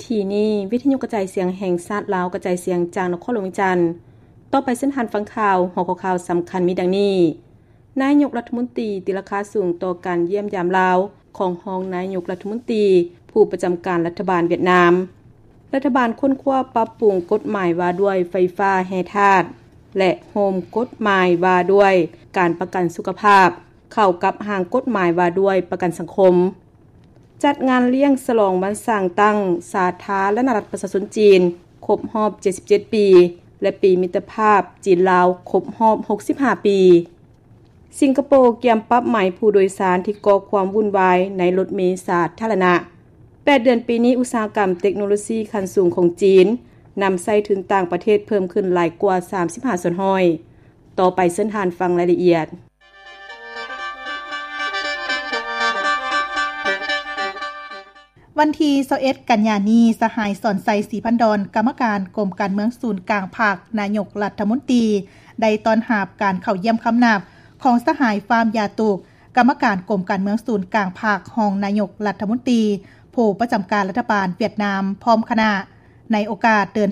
ທີ່ນີ້ ວິທະຍຸກະຈາຍສຽງແຫ່ງຊາດລາວ ກະຈາຍສຽງຈາກນະຄອນຫຼວງວຽງຈັນ. ຕໍ່ໄປເຊີນທ່ານຟັງຂ່າວ. ຫົວຂໍ້ຂ່າວສຳຄັນມີດັ່ງນີ້: ນາຍົກລັດຖະມົນຕີຕີລາຄາສູງຕໍ່ການຢ້ຽມຢາມລາວຂອງຮອງນາຍົກລັດຖະມົນຕີ ຜູ້ປະຈຳການລັດຖະບານຫວຽດນາມ. ລັດຖະບານຄົ້ນຄວ້າປັບປຸງກົດໝາຍວ່າດ້ວຍໄຟຟ້າແຮ່ທາດ ແລະ ໂຮມກົດໝາຍວ່າດ້ວຍການປະກັນສຸຂະພາບ ເຂົ້າກັບຮ່າງກົດໝາຍວ່າດ້ວຍປະກັນສັງຄົມ. ຈັດງານລ້ຽງສະຫຼອງວັນສ້າງຕັ້ງສາທາລະນະລັດປະຊາຊົນຈີນ ຄົບຮອບເຈັດສິບເຈັດປີ ແລະ ປີມິດຕະພາບຈີນ-ລາວ ຄົບຮອບຫົກສິບຫ້າປີ. ສິງກະໂປກຽມປັບໃໝຜູ້ໂດຍສານທີ່ກໍ່ຄວາມວຸ່ນວາຍໃນລົດເມສາທາລະນະ. ແປດເດືອນປີນີ້ ອຸດສາຫະກຳເຕັກໂນໂລຊີຂັ້ນສູງຂອງຈີນ ນຳໃຊ້ທຶນຕ່າງປະເທດເພີ່ມຂຶ້ນຫຼາຍກວ່າສາມສິບຫ້າສ່ວນຮ້ອຍ. ຕໍ່ໄປເຊີນທ່ານຟັງລາຍລະອຽດ. ວັນທີຊາວເອັດ ກັນຍານີ້, ສະຫາຍ ສອນໄຊ ສີພັນດອນ ກຳມະການກົມການເມືອງສູນກາງພັກ, ນາຍົກລັດຖະມົນຕີ ໄດ້ຕ້ອນຮັບການເຂົ້າຢ້ຽມຄຳນັບຂອງສະຫາຍ ຟາມ ຢາຕຸກ ກຳມະການກົມການເມືອງສູນກາງພັກ, ຮອງນາຍົກລັດຖະມົນຕີ ຜູ້ປະຈຳການລັດຖະບານຫວຽດນາມ ພ້ອມຄະນະ ໃນໂອກາດເດີນ